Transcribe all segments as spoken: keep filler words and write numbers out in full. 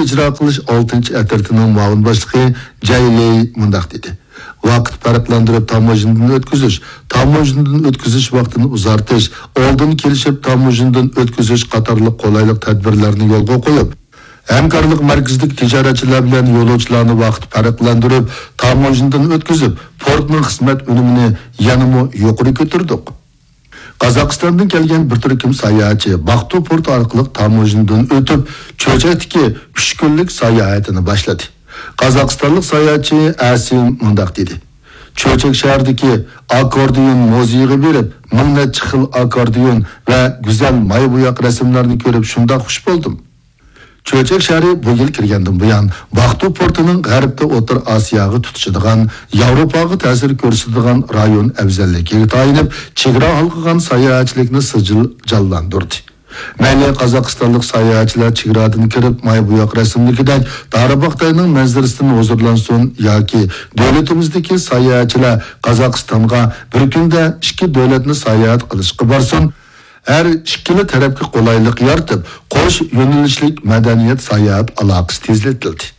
ئىجرا قىلىش ئالتىنچى ئەترىتىنىڭ مۇئاۋىن باشلىقى جەي لېي مۇنداق دېدى: ۋاقىت پەرقلەندۈرۈپ تاموژنىدىن ئۆتكۈزۈش، تاموژنىدىن ئۆتكۈزۈش ۋاقتىنى ئۇزارتىش، ئالدىن كېلىشىپ تاموژنىدىن ئۆتكۈزۈش قاتارلىق قولايلىق تەدبىرلەرنى يولغا قويۇپ، ھەمكارلىق مەركىزىدىكى تىجارەتچىلەر بىلەن يولۇچىلارنى ۋاقىت پەرقلەندۈرۈپ تاموژنىدىن ئۆتكۈزۈپ، پورتنىڭ خىزمەت ئۈنۈمىنى يەنىمۇ يۇقىرى كۆتۈردۇق. قازاقىستاندىن كەلگەن بىر تۈركۈم ساياھەتچى باقتۇ پورتى ئارقىلىق تاموژنىدىن ئۆتۈپ، چۆچەكتىكى ئۈچ كۈنلۈك ساياھىتىنى باشلىدى. قازاقىستانلىق ساياھەتچى ئەسىم مۇنداق دېدى: چۆچەك شەھىرىدىكى ئاككوردىيون مۇزېيىغا بېرىپ، مىڭ نەچچە خىل ئاككوردىيون ۋە گۈزەل ماي بوياق رەسىملەرنى كۆرۈپ شۇنداق خۇش بولدۇم. چۆچەك شەھىرى بۇ يىل كىرگەندىن بۇيان، باقتۇ پورتىنىڭ غەربتە ئوتتۇرا ئاسىياغا تۇتىشىدىغان، ياۋروپاغا تەسىر كۆرسىتىدىغان رايون ئەۋزەللىكىگە تايىنىپ، چېگرا ھالقىغان ساياھەتچىلىكنى سىجىل جانلاندۇردى. مەيلى قازاقىستانلىق ساياھەتچىلەر چېگرادىن كىرىپ، ماي بوياق رەسىملىكىدەك دارىباغتاينىڭ مەنزىرىسىدىن ھۇزۇرلانسۇن ياكى دۆلىتىمىزدىكى ساياھەتچىلەر قازاقىستانغا بىر كۈندە ئىككى دۆلەتنى ساياھەت قىلىشقا بارسۇن، ھەر ئىككىلا تەرەپكە قولايلىق يارىتىپ، قوش يۆنىلىشلىك مەدەنىيەت ساياھەت ئالاقىسى تېزلىتىلدى.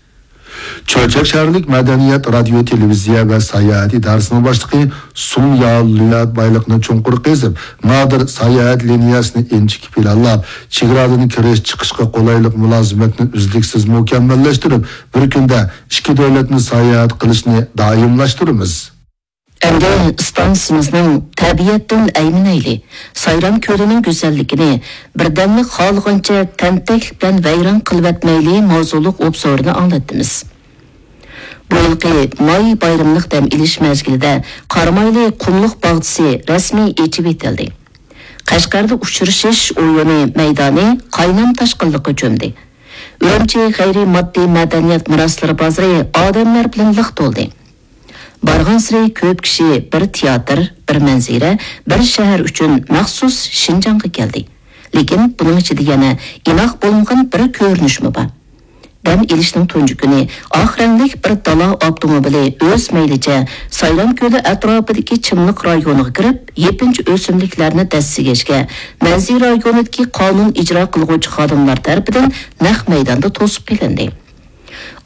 چۆچەك شەھەرلىك مەدەنىيەت، رادىيو، تېلېۋىزىيە ۋە ساياھەت ئىدارىسىنىڭ باشلىقى سۇڭ يالۈەن بايلىقنى چوڭقۇر قېزىپ، نادىر ساياھەت لىنىيەسىنى ئىنچىكە پىلانلاپ، چېگرادىن كىرىش چىقىشقا قولايلىق مۇلازىمەتنى ئۈزلۈكسىز مۇكەممەللەشتۈرۈپ، بىر كۈندە ئىككى دۆلەتنى ساياھەت قىلىشنى دائىملاشتۇرىمىز. ئەمدى ئىستانسىمىزنىڭ تەبىئەتتىن ئەيمىنەيلى. سايرام كۆلىنىڭ گۈزەللىكىنى بىردەملىك خالىغانچە تەنتەكلىك بىلەن ۋەيران قىلىۋەتمەيلى ماۋزۇلۇق ئوبزورىنى ئاڭلاتتىمىز. بۇ يىلقى ماي بايرىملىق دەم ئېلىش مەزگىلىدە قارامايلى قۇملۇق باغچىسى رەسمىي ئېچىۋېتىلدى. قەشقەردە ئۇچرىشىش ئويۇنى مەيدانى قاينام تاشقىنلىققا چۆمدى. ئۈرۈمچى غەيرىي ماددىي مەدەنىيەت مىراسلىرى بازىرى ئادەملەر بىلەن لىق تولدى. بارغانسېرى كۆپ كىشى بىر تىياتىر، بىر مەنزىرە، بىر شەھەر ئۈچۈن مەخسۇس شىنجاڭغا كەلدى. لېكىن بۇنىڭ ئىچىدە يەنە ئىناق بولمىغان بىر كۆرۈنۈشمۇ بار. دەم ئېلىشنىڭ تۇنجى كۈنى ئاق رەڭلىك بىر دالا ئاپتوموبىلى ئۆز مەيلىچە سايرام كۆلى ئەتراپىدىكى چىملىق رايونىغا كىرىپ، يېپىنچا ئۆسۈملۈكلەرنى دەسسىگەچكە، مەنزىرە رايونىدىكى قانۇن ئىجرا قىلغۇچى خادىملار تەرىپىدىن نەق مەيداندا توسۇپ قېلىندى.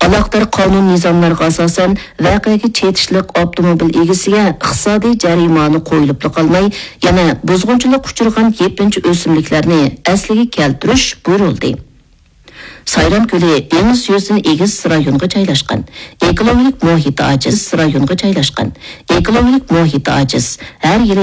ئالاقىدار قانۇن نىزاملارغا ئاساسەن، ۋەقەگە چېتىشلىق ئاپتوموبىل ئىگىسىگە ئىقتىسادىي جەرىمانە قويۇلۇپلا قالماي، يەنە بۇزغۇنچىلىققا ئۇچرىغان يېپىنچا ئۆسۈملۈكلەرنى ئەسلىگە كەلتۈرۈش بۇيرۇلدى. سايرام كۆلى دېڭىز يۈزىدىن ئېگىز رايونغا جايلاشقان، ئېكولوگىيەلىك مۇھىتى ئاجىز رايونغا جايلاشقان، ئېكولوگىيەلىك مۇھىتى ئاجىز، ھەر يىلى